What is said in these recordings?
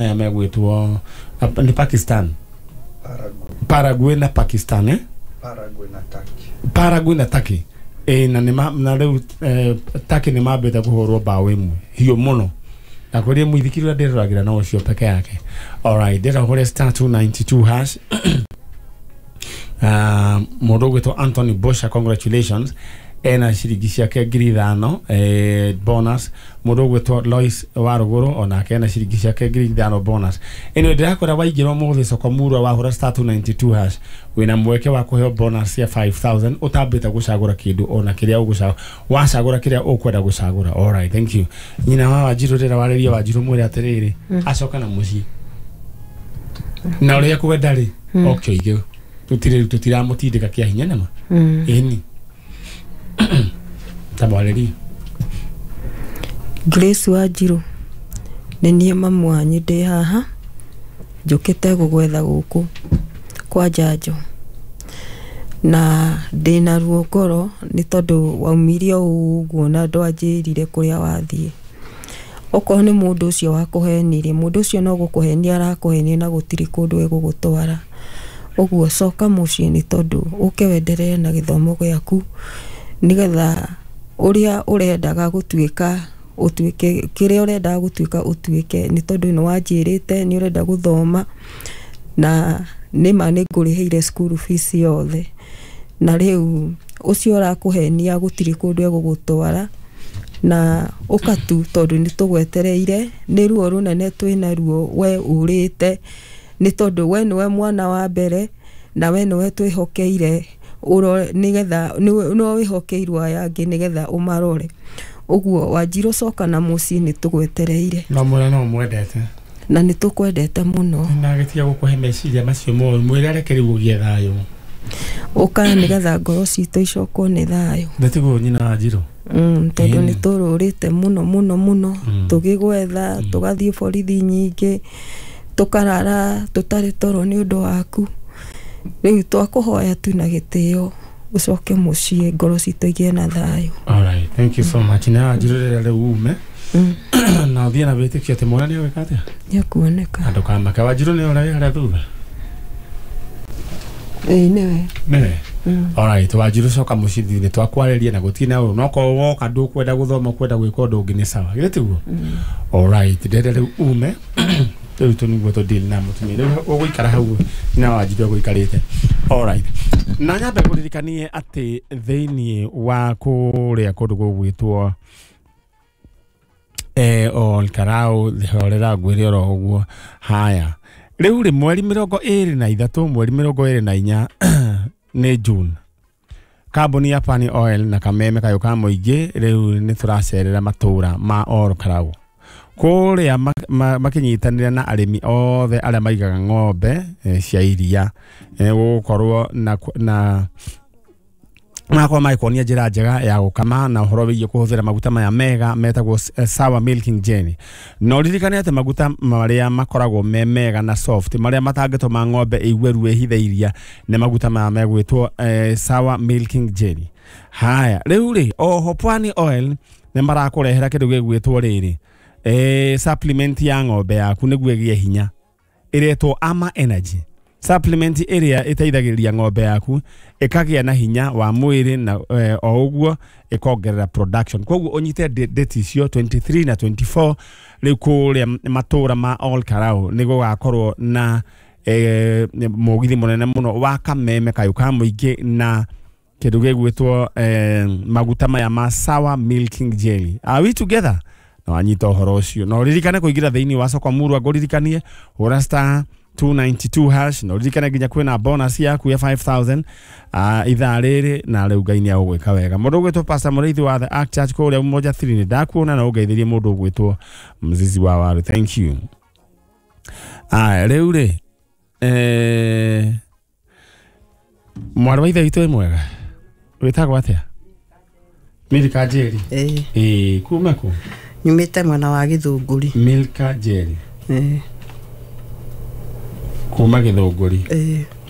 Aya megwĩtwo nĩ Pakistan, Paraguay na Pakistan, eh? Paraguay na Turkey. Paraguay na Turkey, ĩ na nĩ na rĩu Turkey nĩ mambĩte kũhũrwo mbaũ ĩmwe hiũ mũno na kũrĩ mũithikiri ũrĩa ndĩroragĩra no ũcio peke yake. Alright, ndĩrenda ũhũre *292#. Mũndũ ũgwĩtwo Anthony Bosha, congratulations, ena ciringi ciake 5,000 bonus. Mũndũ ũgwĩtwo Lois wa Rũgũrũ onake ena ciringi ciake 5,000 bonus. Anyway, ndĩrakwĩra waingĩra ũmũthĩ soko murwa wahũra *292# wĩna mweke wa kũheo bonus ya 5000 ũtambĩte gũcagũra kĩndũ ona kĩrĩa ũgũcagũra, wacagũra kĩrĩa ũkwenda gũcagũra. Alright, thank you. Nyina wa Wanjirũ, rĩra warĩria Wanjirũ mwĩre atĩrĩrĩ, acoka na mũciĩ na ũrĩa kwenda rĩ oke oige tũtirĩ tũtiramũtindĩka kĩa hinya nama. Ĩni tamwarĩrie. Grace Wanjirũ, nĩ niĩ mamu wanyu ndĩ haha njũkĩte gũgwetha gũkũ kwa njanjo na ndĩna ruo ngoro nĩ tondũ waumire o ũguo na ndwanjĩrire kũrĩa wathiĩ. Okorwo nĩ mũndũ ũcio wakũhenirie, mũndũ ũcio no gũkũhenia arakũhenia na gũtirĩ kũndũ egũgũtwara. Ũguo coka mũciĩ nĩ tondũ ũke wenderee na gĩthomo gĩaku nĩgetha ũrĩa ũrendaga gũtuĩka ũtuĩke, kĩrĩa ũrendaga gũtuĩka ũtuĩke, nĩ tondũ nĩ wanjĩrĩte nĩ ũrenda gũthoma na nĩma nĩ ngũrĩhĩire school fees yothe, na rĩu ũcio ũrakũhenia gũtirĩ kũndũ egũgũtwara na ũka tu tondũ nĩ tũgwetereire. Nĩ ruo rũnene twĩna ruo we ũrĩte nĩ tondũ we nĩwe mwana wa mbere na we nĩwe twĩhokeire nĩgetha nĩwe wĩhokeirwo aya angĩ nĩgetha ũmarore. Ũguo Wanjirũ coka na mũciĩ nĩ tũgwetereire. No mwĩre no mwendete. Na nĩ tũkwendete mũno. Na gĩtiga gũkũhe meciria macio moru, mwĩre areke rĩu ũgĩe thayũ. Ũka nĩgetha ngoro citũ icokwo nĩ thayũ. Ndĩtiguo nyina Wanjirũ. Tondũ nĩ tũrũrĩte mũno mũno mũno tũgĩgwetha, tũgathiĩ borithi nyingĩ, tũkarara tũtarĩ toro nĩ ũndũ waku. Rĩu twakũhoya tu na gĩtĩo ũcoke mũciĩ ngoro citũ igĩe na thayũ. Alright, thank you so much. Na Wanjirũ rĩrĩa rĩu ume na ũthiĩ na wĩtĩkio atĩ mwana nĩ agwĩka atĩa? Nĩekuoneka. Na ndũkamake. Wanjirũ nĩ ũrĩa wĩ harĩa thutha? Ĩĩ nĩwe. Nĩwe? Alright, Wanjirũ coka mũciĩ nĩ twakwarĩria na gũtirĩ na ũru. No korwo woka ndũkwenda gũthoma ũkwenda gwĩka ũndũ ũngĩ nĩ sawa. Githĩ tiguo? Alright, ndĩrenda rĩu ume rĩu tũ nĩguo tũ deal na mũtumia. Rĩu ũgũikara hau nyina Wanjirũ egũikarĩte. Alright. Na nyambe ngũririkanie atĩ thĩiniĩ wa kũrĩa kũndũ gũgwĩtwo Ol Karau horera ngwĩre oro ũguo. Haya, rĩu rĩ mweri 23 mweri 24 nĩ June, kambuni ya Pani Oil na kameme kayũ ka mũingĩ rĩu nĩ tũracerera matũra ma Ol Karau kũrĩa makĩnyitanĩra na arĩmi othe arĩa maigaga ng'ombe cia iria. Gũgũkorwo na magakorwo magĩkuonia njĩra njega ya gũkama na ũhoro wĩgiĩ kũhũthĩra maguta maya mega metagwo Sour Milking Jelly. Na ũririkane atĩ maguta marĩa makoragwo me mega na soft marĩa matangĩtũma ng'ombe ĩigue ruo ĩhithe iria nĩ maguta maya megwĩtwo Sour Milking Jelly. Haya, rĩu rĩ oho Pwani Oil nĩ marakũrehera kĩndũ gĩgwĩtwo rĩrĩ supplement ya ng'ombe yaku nĩguo ĩgĩe hinya ĩretwo Ama Energy. Supplement ĩrĩa ĩteithagĩrĩria ng'ombe yaku ĩkagĩa na hinya wa mwĩrĩ na o ũguo ĩkongerera production. Koguo ũnyite date icio 23 na 24 rĩu kũrĩa matũra ma Ol Karau nĩ gũgakorwo na mũgithi mũnene mũno wa kameme kayũ ka mũingĩ na kĩndũ gĩgwĩtwo maguta maya ma Sour Milking Jelly. Are we together? Na wanyita ũhoro ũcio na ũririkane kũingĩra thĩinĩ wa soko murwa ngũririkanie hũra *292# na ũririkane nginya kwĩna bonus yaku ya 5000 ithaa rĩrĩ na rĩu Ngai nĩ agũgwĩka wega. Mũndũ ũgwĩtwo Pastor Mũrĩithi wa The Ark Church kũrĩa Umoja 3 nĩ ndakuona na ũngeithĩrie mũndũ ũgwĩtwo Mzizi wa Waru. Thank you. Aya rĩu rĩ mwarĩ wa ithe witũ wĩ mwega, wĩtagwo atĩa? Milka Njeri. Ĩĩ kuma kũ? Nyumĩte mwena wa Gĩthũngũri. Milka Njeri. Kuma Gĩthũngũri.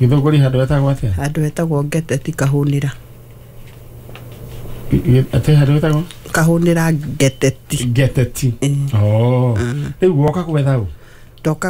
Gĩthũngũri handũ hetagwo atĩa? Handũ hetagwo Ngeteti Kahũnĩra. Atĩ handũ hetagwo? Kahũnĩra Ngeteti. Ngeteti. Oh. Rĩu woka gwetha ũ? Ndoka.